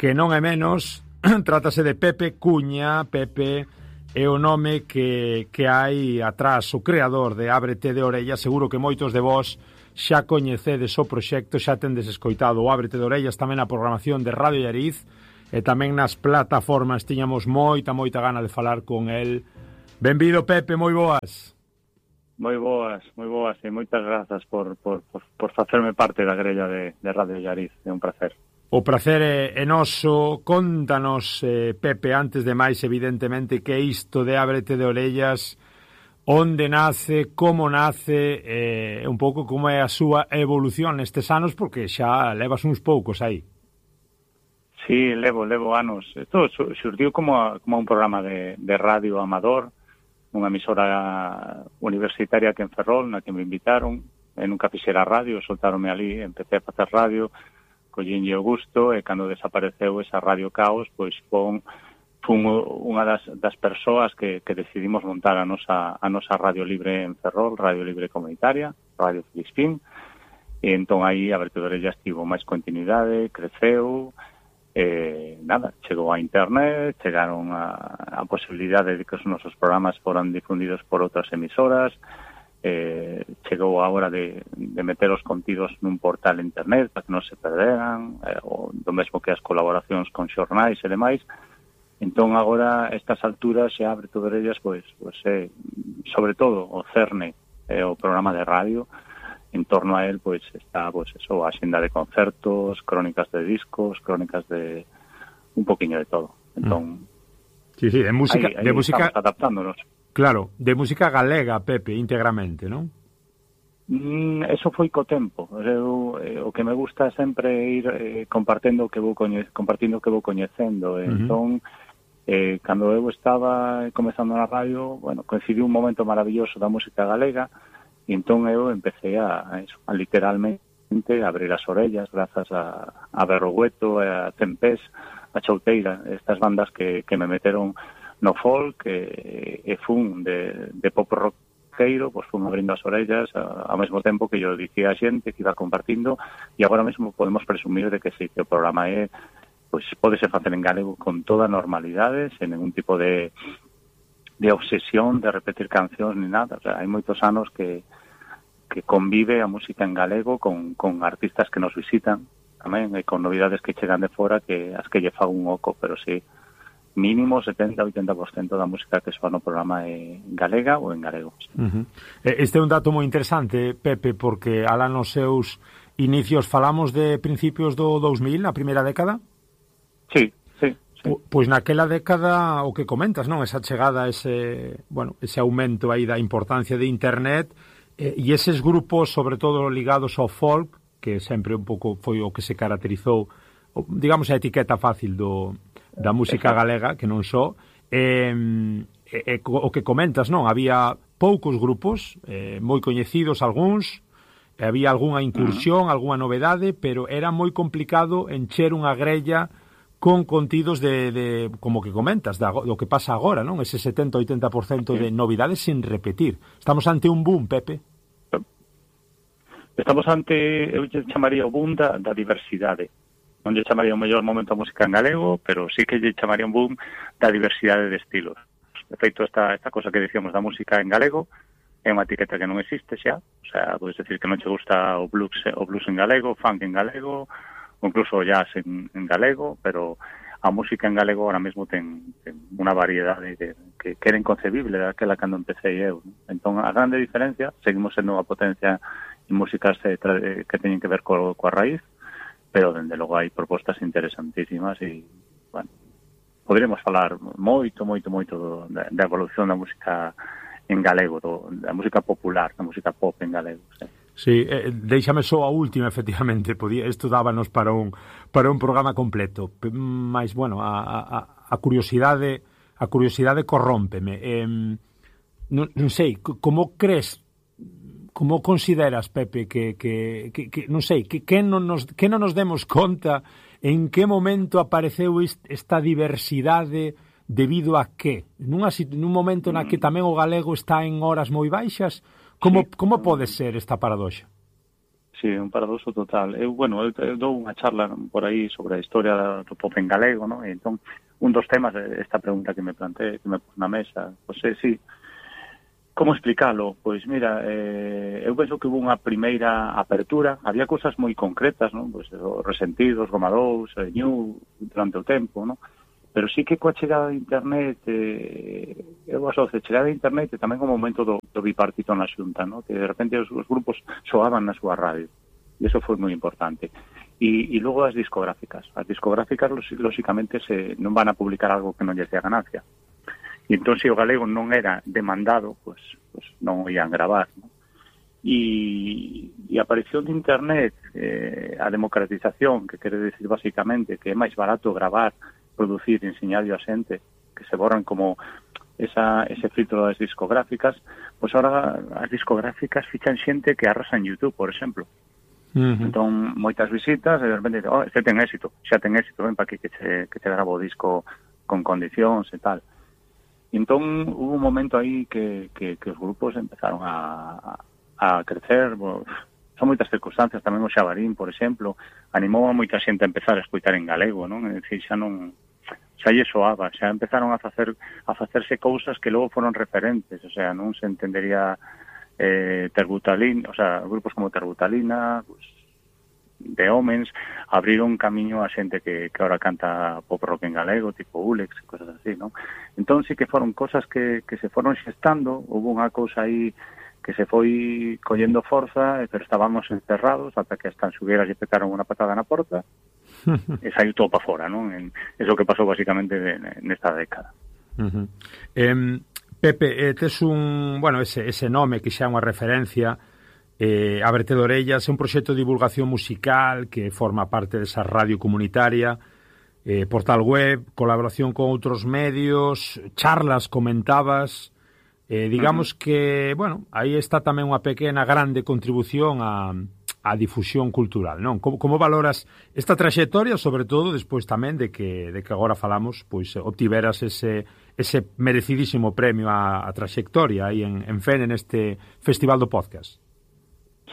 que non é menos, trátase de Pepe Cuña. Pepe é o nome que hai atrás, o creador de Ábrete de Orellas. Seguro que moitos de vós xa coñecedes o proxecto, xa tendes escoitado o Ábrete de Orellas tamén na programación de Radio Llariz e tamén nas plataformas. Tiñamos moita gana de falar con el. Benvido, Pepe, moi boas. Moi boas, e moitas grazas por facerme parte da grella de Radio Llariz. É un placer. O prazer é noso. Contanos, Pepe, antes de máis, evidentemente, que isto de Ábrete de Orellas, onde nace, como nace, un pouco como é a súa evolución nestes anos, porque xa levas uns poucos aí. Sí, levo anos. Isto xurdiu como un programa de radio amador, unha emisora universitaria que en Ferrol, na que me invitaron. Eu nunca fixera radio, soltáronme ali, empecé a facer radio, collínlle o gusto, e cando desapareceu esa Radio Caos, pois fun unha das persoas que decidimos montar a nosa Radio Libre en Ferrol, Radio Libre Comunitaria, Radio Filispín, e entón aí a Ábrete de Orellas tivo máis continuidade, creceu. Chegou a internet, chegaron a posibilidade de que os nosos programas foran difundidos por outras emisoras, chegou a hora de meter os contidos nun portal internet para que non se perderan, do mesmo que as colaboracións con xornais e demais. Entón agora, a estas alturas, xa Ábrete de Orellas, pois sobre todo o cerne o programa de radio. En torno a él, pois, está, a xenda de concertos, crónicas de discos, crónicas de un poquinho de todo. Entón, sí, de música, ahí de música adaptándonos. Claro, de música galega, Pepe, íntegramente, non? Eso foi co tempo. O que me gusta sempre ir compartindo o que vou coñecendo. Entón, cando eu estaba comezando na radio, coincidiu un momento maravilloso da música galega. E entón eu empecé a literalmente abrir as orellas grazas a Berrogueto, a Tempés, a Chouteira, estas bandas que me meteron no folk, e fun de pop rockero, pois fun abrindo as orellas ao mesmo tempo que yo dicía a xente que iba compartindo, e agora mesmo podemos presumir de que sí, que o programa pois pódese facer en galego con toda normalidade, sen ningún tipo de obsesión de repetir cancións ni nada. O sea, hai moitos anos que convive a música en galego con artistas que nos visitan tamén, e con novidades que chegan de fora que as que lle fago un oco, pero sí, mínimo 70-80% da música que soa no programa é galega ou en galego. Sí. Este é un dato moi interesante, Pepe, porque alá nos seus inicios falamos de principios do 2000, na primeira década? Sí. Pois naquela década o que comentas, non? Esa chegada, ese aumento aí da importancia de internet, e eses grupos, sobre todo ligados ao folk, que sempre un pouco foi o que se caracterizou, digamos, a etiqueta fácil da música galega, que non só, o que comentas, non? Había poucos grupos, moi coñecidos algúns, había algunha incursión, algunha novedade, pero era moi complicado encher unha grella con contidos de como que comentas, do que pasa agora, non? Ese 70-80% de novidades sin repetir. Estamos ante un boom, Pepe? Estamos ante, eu chamaría o boom da diversidade. Non lle chamaría o mellor momento a música en galego, pero sí que lle chamaría un boom da diversidade de estilos. De feito, esta cosa que dicíamos da música en galego é unha etiqueta que non existe xa. O sea, podes decir que non che gusta o blues en galego, o funk en galego, ou incluso o jazz en galego, pero a música en galego ahora mesmo ten unha variedade que era inconcebible daquela cando empecé eu. Entón, a grande diferencia, seguimos sendo unha potencia en músicas que teñen que ver coa raíz, pero, dende logo, hai propostas interesantísimas e, poderíamos falar moito da evolución da música en galego, da música popular, da música pop en galego, Sí, déixame só a última, efectivamente, isto dábanos para un programa completo, mas, a curiosidade corrómpeme. Non sei, como crees, como consideras, Pepe, que non sei, que non nos demos conta en que momento apareceu esta diversidade debido a que? Nun momento na que tamén o galego está en horas moi baixas, como pode ser esta paradoxa? un paradoxo total. Eu dou unha charla por aí sobre a historia do pop en galego, non? E entón, un dos temas esta pregunta que me planteé, que me pus na mesa, pois sí, como explicalo? Pois mira, eu penso que hubo unha primeira apertura, había cousas moi concretas, non? Pois os Resentidos, Gomadous, New, durante o tempo, non? Pero sí que coa chegada de internet, eu asocio a chegada de internet e tamén o momento do bipartito na xunta, no? Que de repente os grupos soaban na súa radio, e iso foi moi importante. E logo as discográficas, lóxicamente non van a publicar algo que non lles dé ganancia, e entón se o galego non era demandado, pues non o ian gravar, no? E a aparición de internet, a democratización, que quere decir basicamente que é máis barato gravar, producir e enseñarlo a xente, que se borran como ese filtro das discográficas, pois agora as discográficas fichan xente que arrasa en YouTube, por exemplo. Entón, moitas visitas, e de repente, xa ten éxito, ven para aquí que te gravo o disco con condicións e tal. Entón, hubo un momento aí que os grupos empezaron a crecer, son moitas circunstancias, tamén o Xabarín, por exemplo, animou a moita xente a empezar a escoitar en galego, non? É dicir, xa lle soaba, xa empezaron a facerse cousas que logo foron referentes, o sea, non se entendería Terbutalina, o sea, grupos como Terbutalina, pues, de Homens, abriron camiño a xente que ahora canta pop rock en galego, tipo Ulex, cosas así, non? Entón, sí que foron cosas que se foron xestando, hubo unha cousa aí que se foi collendo forza, pero estábamos encerrados ata que as tanxugueras lle petaron unha patada na porta e saiu todo para fora, non? Eso que pasou basicamente nesta década. Pepe, tes ese nome que xa é unha referencia, Ábrete de Orellas, é un proxecto de divulgación musical que forma parte desa radio comunitaria, portal web, colaboración con outros medios, charlas, comentabas. Digamos que, aí está tamén unha pequena, grande contribución á difusión cultural, non? Como valoras esta traxectoria, sobre todo, despois tamén de que agora falamos, pois, obtiveras ese merecidísimo premio á traxectoria aí en Fene, neste Festival do Podcast?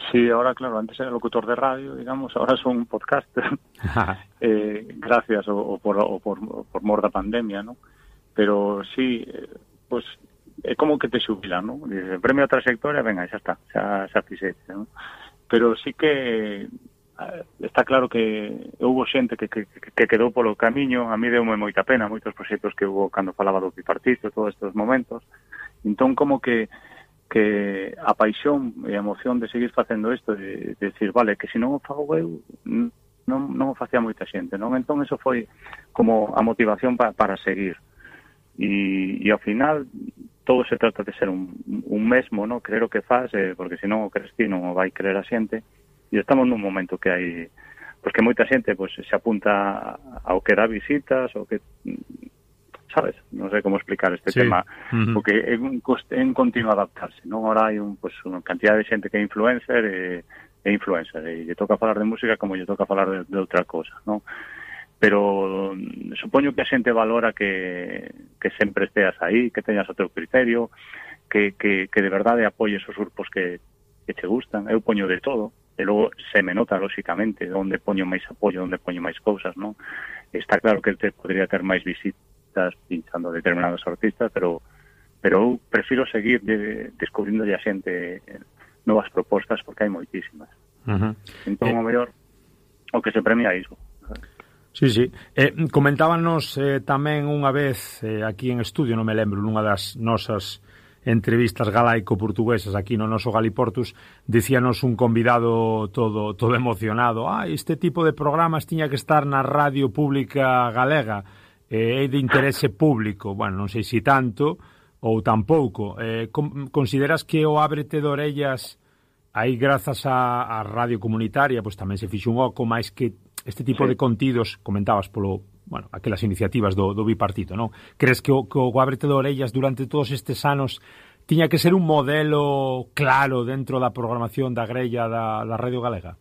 Sí, ahora, claro, antes era locutor de radio, digamos, ahora son un podcaster, gracias por mor da pandemia, ¿no? Pero sí, pues é como que te xubilan, ¿no? Dice, premio a trayectoria, venga, xa está, xa fixete, ¿no? Pero sí que está claro que houve xente que quedou polo camiño, a mí deume moita pena, moitos proxectos que houve cando falaba do bipartito, todos estes momentos, entón como que a paixón e a emoción de seguir facendo isto, de decir, vale, que se non o fago eu, non o facía moita xente, non? Entón eso foi como a motivación para seguir. E ao final todo se trata de ser un mesmo, ¿no? Creer o que faz, porque senón o crees ti non o vai creer a xente, e estamos nun momento que hai, pois que moita xente pois se apunta ao que dá visitas, ou que, sabes, non sei como explicar este tema, porque é un continuo adaptarse, non? Ahora hai unha cantidad de xente que é influencer e lle toca falar de música como lle toca falar de outra cosa, non? Pero supoño que a xente valora que sempre esteas aí, que teñas o teu criterio, que de verdade apoyes os grupos que te gustan. Eu poño de todo, e logo se me nota, lóxicamente, onde poño máis apoio, onde poño máis cousas, non? Está claro que podría ter máis visitas pinchando determinados artistas, pero eu prefiro seguir descubrindo a xente novas propostas, porque hai moitísimas. Entón, o mellor, o que se premia é iso. Sí. Comentábanos tamén unha vez aquí en estudio, non me lembro, nunha das nosas entrevistas galaico-portuguesas aquí no noso Galiportus, dicíanos un convidado todo emocionado, este tipo de programas tiña que estar na radio pública galega, é de interese público. Bueno, non sei se tanto ou tampouco. Consideras que o Ábrete de Orellas aí, grazas á radio comunitaria, pois tamén se fixo un oco máis que este tipo de contidos, comentabas aquelas iniciativas do bipartito, non? Crees que o Ábrete de Orellas durante todos estes anos tiña que ser un modelo claro dentro da programación da grella da radio galega?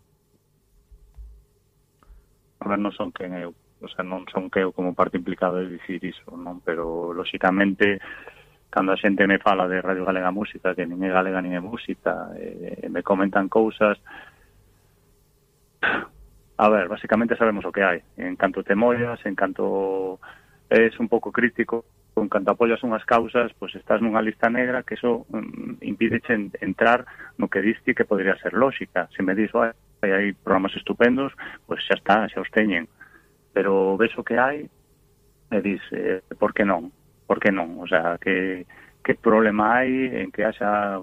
A ver, non son quen eu, non son que eu como parte implicada de dicir iso, non? Pero, lóxicamente, cando a xente me fala de Radio Galega Música, que nin é galega nin é música, me comentan cousas, A ver, básicamente sabemos o que hai. En canto te mollas, en canto es un pouco crítico, en canto apoias unhas causas, pois estás nunha lista negra que eso impídeche entrar no que diste que podría ser lógica. Se me dis, hai programas estupendos, pois xa está, xa os teñen. Pero ves o que hai e dis, por que non? Por que non? O sea, que problema hai en que haxa